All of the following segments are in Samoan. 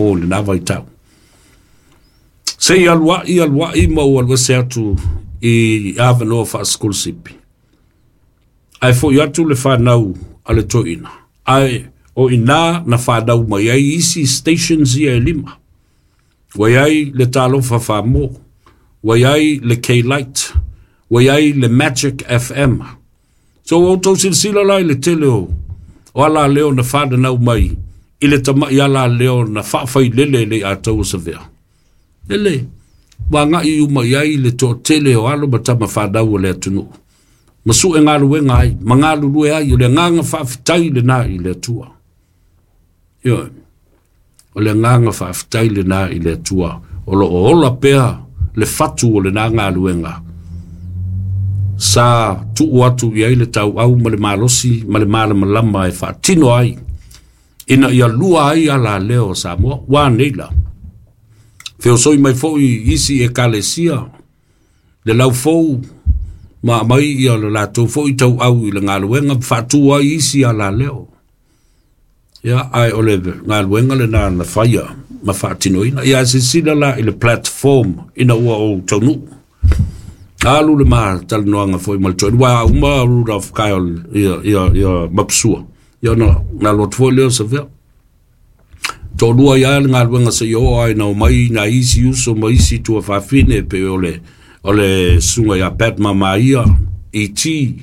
O lena vaitau. Se i aluai aluai ma ua alu ese atu i avanoa faasikolasipi. Ae foi atu le fanau a le toeaina, ae o i ina na fanau mai ai isi stations ia e lima. Ua i ai le Talofa Famo, ua i ai le K-Light, ua i ai le Magic FM. So ua outou silasila la i le tele o o alaleo na fananau mai i le tama'i alaleo na faafailele e le Ataua Savea. Lele, ua agai uma i ai le toatele o alo ma tama fanau o le atunuu. Ma sue galuega ai, ma galulue ai, o le agaga faafetai lena i le Atua. Ioe, o le agaga faafetai lena i le Atua, o lo o ola pea le fatu o lena galuega sa tuu atu i ai le tauau ma le malosi ma le malamalama e faatino ai ina ia lua ai alaleo o Samoa. Ua nei la, feosoi mai foi isi ekalesia le laufou ma aumai ia le latou foi tauau i le galuega ma faatu ai isi alaleo. Ia, ae o le galuega lena na faia ma faatinoina. Ia, silasila la i le platform ina ua ou taunuu. Alu le ma talanoaga foi ma le toeaina, ua uma Rudolph Kyle ia, ia, ia Mapusua. Ia ona na alu atu foi lea o Savea. Toalua ia le galuega se i oo ai na omai nai isi uso ma isi tuafafine pe o le susuga ia Pat Mamaia, E.T.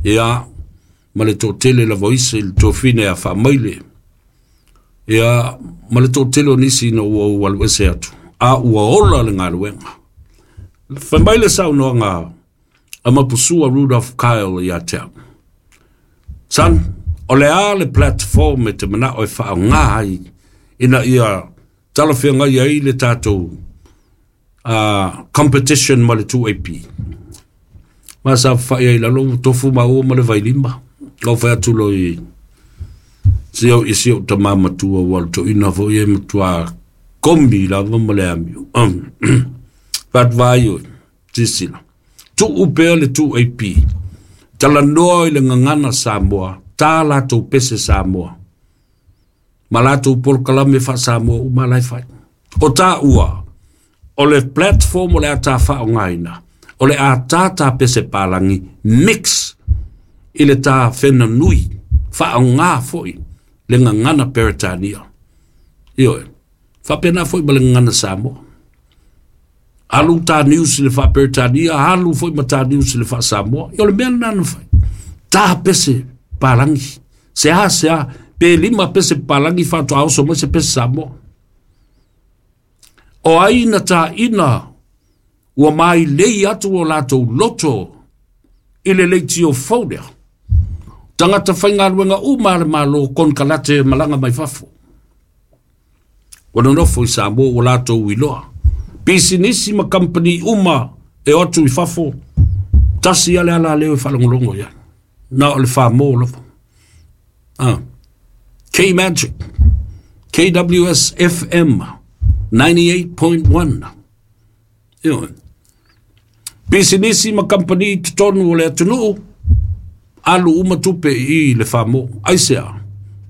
Ia, ma le toatele lava o isi, le tuafafine ia Faamaile. Ia, ma le toatele o nisi ina ua ou alu ese atu, a ua ola le galuega. Fai mai le saunoaga a Mapusua Rudolph Kyle ia te au. Son, o le a le platform e te manao e faaaoga ai ina ia talafeagai ai le tatou competition ma le 2AP. Ma sa faafai ai i lalo ua tofu maua ma le vailima. Ua fai atu loa i si au i si ou tama matua ua toeaina foi e matua komi lava ma le amio. Faatuvai oe, silasila. Tuu pea le 2AP. Talanoa i le gagana Samoa, ta latou pese Samoa. Ma latou polokalame faa-Samoa uma la e fai. O taua, o le platform o le a ta faaaogaina, o le a ta ta pese palagi mix i le ta fenanui, faaaoga foi le gagana Peretania. Ioe, faapena foi ma le gagana Samoa. Alu ta news i le faa-Peretania, alu foi ma ta news i le faa-Samoa. Ia o le mea lena na fai. Ta pese palagi. Se a, se a, pe lima pese palagi faatoa oso mai se pese Samoa. O ai na taina ua mailei atu o latou loto i le leitio fou lea. Tagata faigaluega uma a le Malo konekarate malaga mai fafo. Ua nonofo i Samoa ua latou iloa. Pisinisi ma kamupani uma e o atu i fafo, tasi lava le alaleo e faalogologo i ai. Na o le famo lava. Ah. K-Magic, KWS FM 98.1. Ioe. Pisinisi ma kamupani i totonu o le atunuu, alu uma tupe i le famo. Aisea?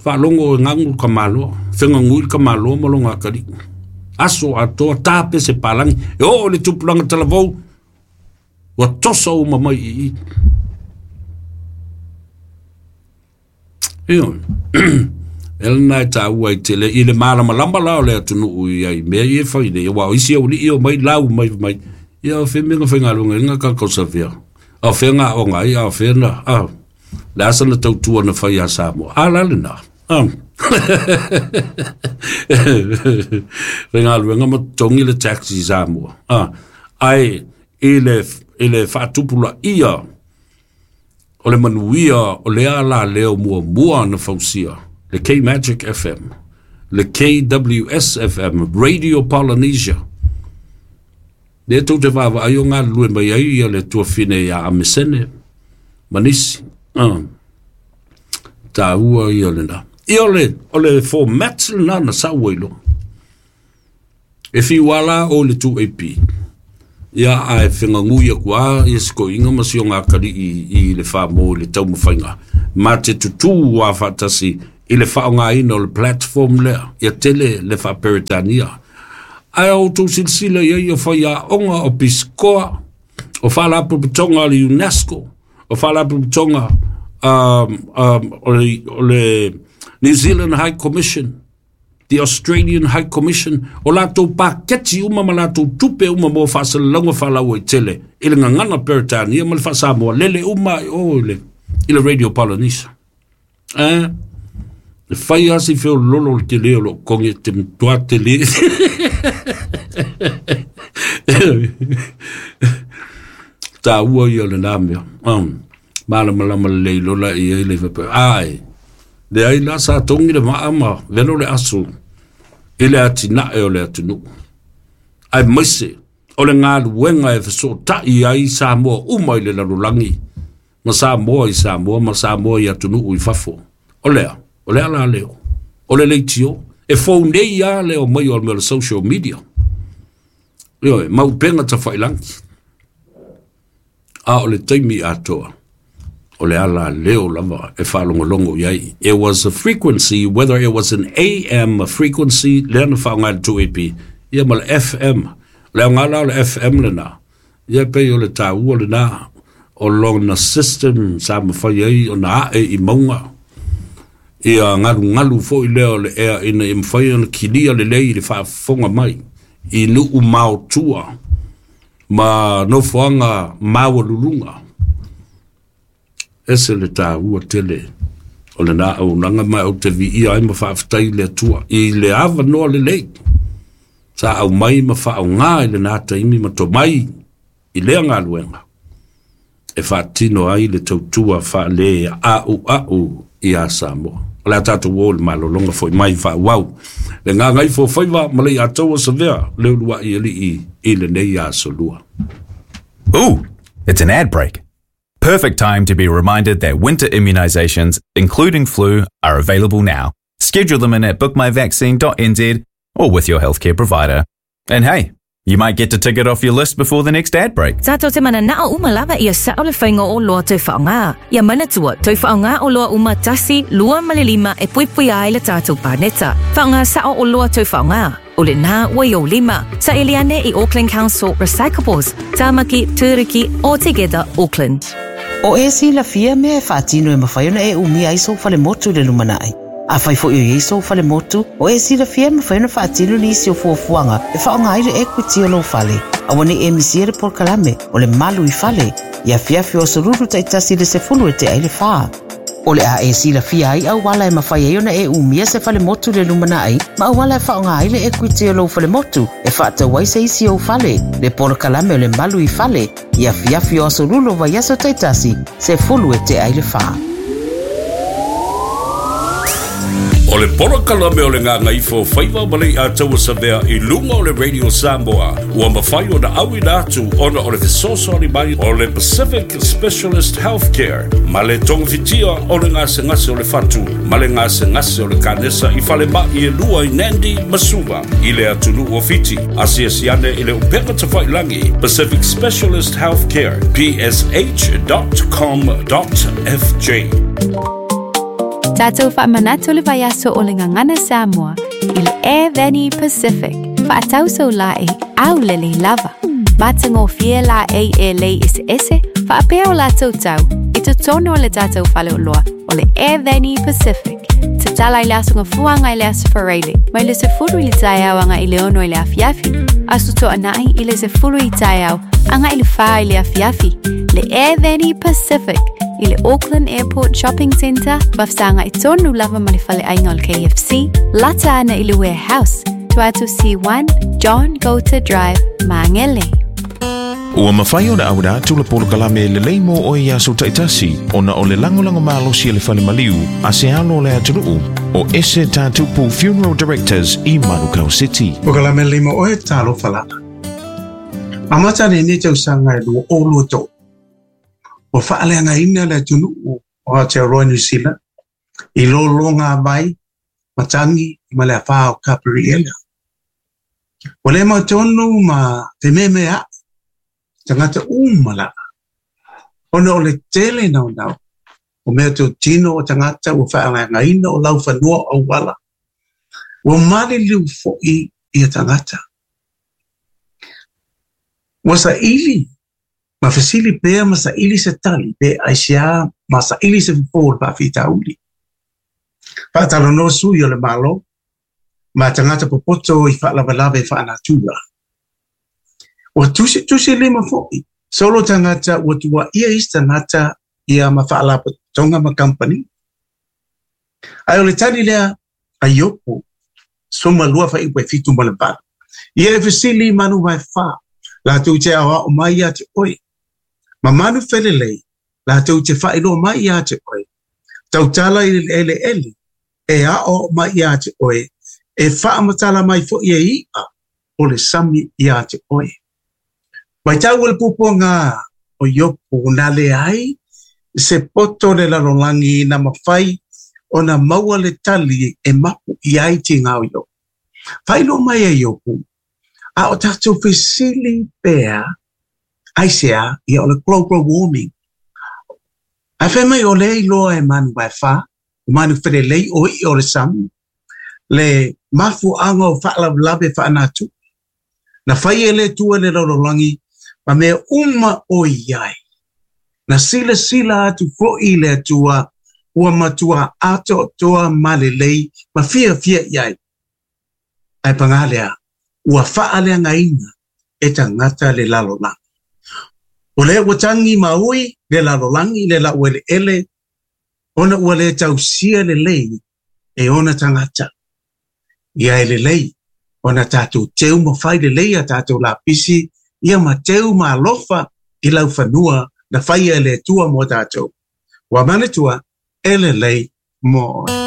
Faalogo e gagu le tamaloa, fegagui le tamaloa ma lona atalii. Aso atoa ta pese palagi, e oo i le tupulaga talavou, ua toso uma mai i i. Ioe. E lena e taua i tele i le malamalama la o le atunuu i ai mea ia e fai nei, aua o isi aualii e omai lau mai mai, ia o fea mea na faigaluega ai na tatou Savea, a o fea na aoga ai, a o fea na, a, le a sana tautua na fai ia Samoa, a la lena, a. Faigaluega ma totogi le tax i Samoa, a, ae i le, i le faatupulaia o le manuia o lea alaleo muamua na fausia, le K-Magic FM, le KWS FM, Radio Polynesia. Lea tou te vaavaai o galulue mai ai ia le tuafine ia Amesene ma nisi. Taua ia lena. Ia o le format lena na sau ai loa. E fiu lava la o le 2AP. Ia ae fegagui atu lava ia si toeaina ma si ona atalii i le famo i le taumafaiga ma te tutū lava faatasi i le faaaogaina o le platform lea, ia tele le faa-Peretania. Ae a outou silasila i ai o faiaoga o pisikoa, o faalapotopotoga a le UNESCO, o faalapotopotoga o le New Zealand High Commission, the Australian High Commission, o latou paketi uma ma latou tupe uma mo faasalalauga faalauaitele i le gagana Peretania ma le faa-Samoa, lele uma i o i le Radio Polynesia. E fai lava si feololo o le tele o loo togi te matua tele. Taua ia o lena mea. Malamalama lelei loa la i ai le faapea, ai, leai la sa togi le maa ma velo le aso i le atinae o le atunuu. Aemaise o le galuega e fesootai ai Samoa uma i le lalolagi, ma Samoa i Samoa, ma Samoa i atunuu i fafo. O lea, o le ala leo, o le leitio, e fou nei lava le omai o le mea o le social media. Ioe, ma upega tafailagi. A o le taimi atoa, o le ala leo lava e faalogologo i ai. It was a frequency, whether it was an AM frequency, lea na faaaoga e le 2AP, ia ma le FM. O le aoga la o le FM lena, ia pei o le taua lena o lona system sa mafai ai ona ae i mauga. Ia galugalu foi lea o le ea ina ia mafai ona kilia lelei i le faafofoga mai i nuu maotua ma nofoaga maualuluga. Ese le taua tele o lena auaunaga ma ou te viia ai ma faafetai i le Atua i le avanoa lelei sa aumai ma faaaoga i lena taimi ma tomai i lea galuega e faatino ai le tautua faale-a'ua'u iā Samoa. O le a tatou o i le malologa foi mai faaauau le gagaifo faiva ma le Iataua Savea le uluai alii i lenei aso lua. Ooh, it's an ad break. Perfect time to be reminded that winter immunizations, including flu, are available now. Schedule them in at bookmyvaccine.nz or with your healthcare provider. And hey, you might get to tick it off your list before the next ad break. Tatou te mananao uma lava ia sao le faiga o oloa tau faaaoga. Ia manatua, tau faaaoga oloa uma tasi, lua ma le lima e puipuia ai le tatou paneta. Faaaoga sao oloa tau faaaoga. O lena ua i ou lima. Saili ane i Auckland Council Recyclables, Tamaki, Turuki, or Together Auckland. O e silafia mea e faatino e mafai ona e umia ai sou falemotu i le lumanai. Afai foi o i ai sou falemotu, o e silafia e mafai ona faatino nisi o fuafuaga e faaaoga ai le equity o lou fale. Aua ne i e misia le polokalame o le Malu i Fale i afiafi o aso Lulu taitasi i le 10 e tea i le fa. O le a e silafia ai auala e mafai ai ona e umia se falemotu i le lumanai ma auala e faaaoga ai le equity o lou falemotu e faatau ai se isi ou fale, le polokalame o le Malu i Fale i afiafi o aso Lulu o vaiaso taitasi, 10 e tea i le fa. O le polokalame o le Gagaifo Faiva ma le Iataua Savea i luga o le Radio Samoa ua mafai ona auina atu ona o le fesoasoani mai o le Pacific Specialist Healthcare ma le togafitia o le gasegase o le fatu ma le gasegase o le kanesa i falemai e lua i Nandi ma Suva i le atunuu o Fiti. Asiasi ane i le upega tafailagi Pacific Specialist Healthcare psh.com.fj. Tatou faamanatu le vaiaso o le Gagana Samoa i le Air Veni Pacific. Faatau sau laei aulelei lava. Matagofie laei e lei eseese faapea o latou tau i totonu o le tatou faleoloa o le Air Veni Pacific. Tatala i le Aso Gafua agai i le Aso Faraile, mai le 10 i le taeao agai i le 6 i le afiafi, Aso Toonai i le 10 i taeao agai i le 4 i le afiafi. Le Air Veni Pacific i le Auckland Airport Shopping Centre, faafesagai tonu lava ma le faleaiga o le KFC, lata ana i le Warehouse, tua atu C1, John Goulter Drive, Māngere. Ua mafai ona auina atu le polokalame lelei mo oe i aso taitasi ona o le lagolago malosi a le Fale Maliu a se alo o le atunuu o Ese Tatupu Funeral Directors i Manukau City. Polokalame lelei mo oe, talofa lava. Amata lenei tausaga e 2023, ua faaleagaina le atunuu o Aotearoa New Zealand i lologa vai, matagi ma le afa o Kaperiela. Ua le mautonu ma fememea'i tagata uma lava ona o le tele naunau O meatotino o tagata ua faaleagaina o laufanua o auala. Ua maliliu foʻi ia tagata. Ua saʻili ma fesili pea ma saʻili se tali pe aisiā ma saʻili se fofō o le faafitauli. Faatalanoa sui o le Malo ma tagata popoto i faalavelave faanatura. Ua tusitusi lima foʻi solo tagata ua tuuaia isi tagata ia ma faalapotopotoga ma kamupani. Ae o le tali lea a Iopu 12:78. Ia e fesili i manu vaefa, latou te aoao mai ia te oe, ma manu felelei, latou te faailoa mai ia te oe. Tautala i le eleele, e aoao mai ia te oe, e faamatala mai foi e i'a o le sami ia te oe. Matau e le puapuaga o Iopu na leai se poto o le lalolagi na mafai ona maua le tali e mapu i ai tiga o Iopu. Faailoa mai e Iopu, a o tatou fesili pea, aisea, ia o le global warming. Ae fai mai o lea e iloa e manu vaefa, o manu felelei o i'a o le sami, le mafuaaga o faalavelave faanatura. Na fai e le Atua le lalolagi ma mea uma o i ai. Na silasila atu foʻi le Atua ua matua atoatoa ma lelei ma fiafia i ai. Ae pagā lea, ua faaleagaina e tagata le lalolagi. O lea ua tagi ma ui le lalolagi le laueleele ona ua le tausia lelei e ona tagata. Ia e lelei ona tatou teu ma fai lelei a tatou lapisi ia ma teu ma alofa i laufanua na faia e le Atua mo tatou. Ua manatua e lelei mo oe.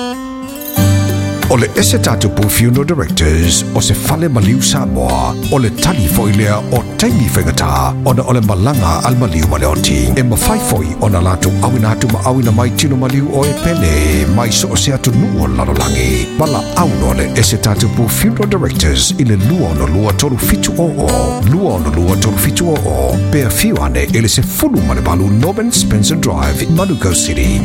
O le ese tatupu Funeral Directors o se fale maliu Samoa, o le tali foi lea o taimi faigata ona o le malaga a le maliu ma le oti. E mafai foi ona latou auina atu ma auina mai tino maliu o e pele mai so o se atunuu o le lalolagi. Valaau loa le ese tatupu Funeral Directors i le 262 3700, 262 3700, pe afio ane i le 18 Norman Spencer Drive, Manukau City.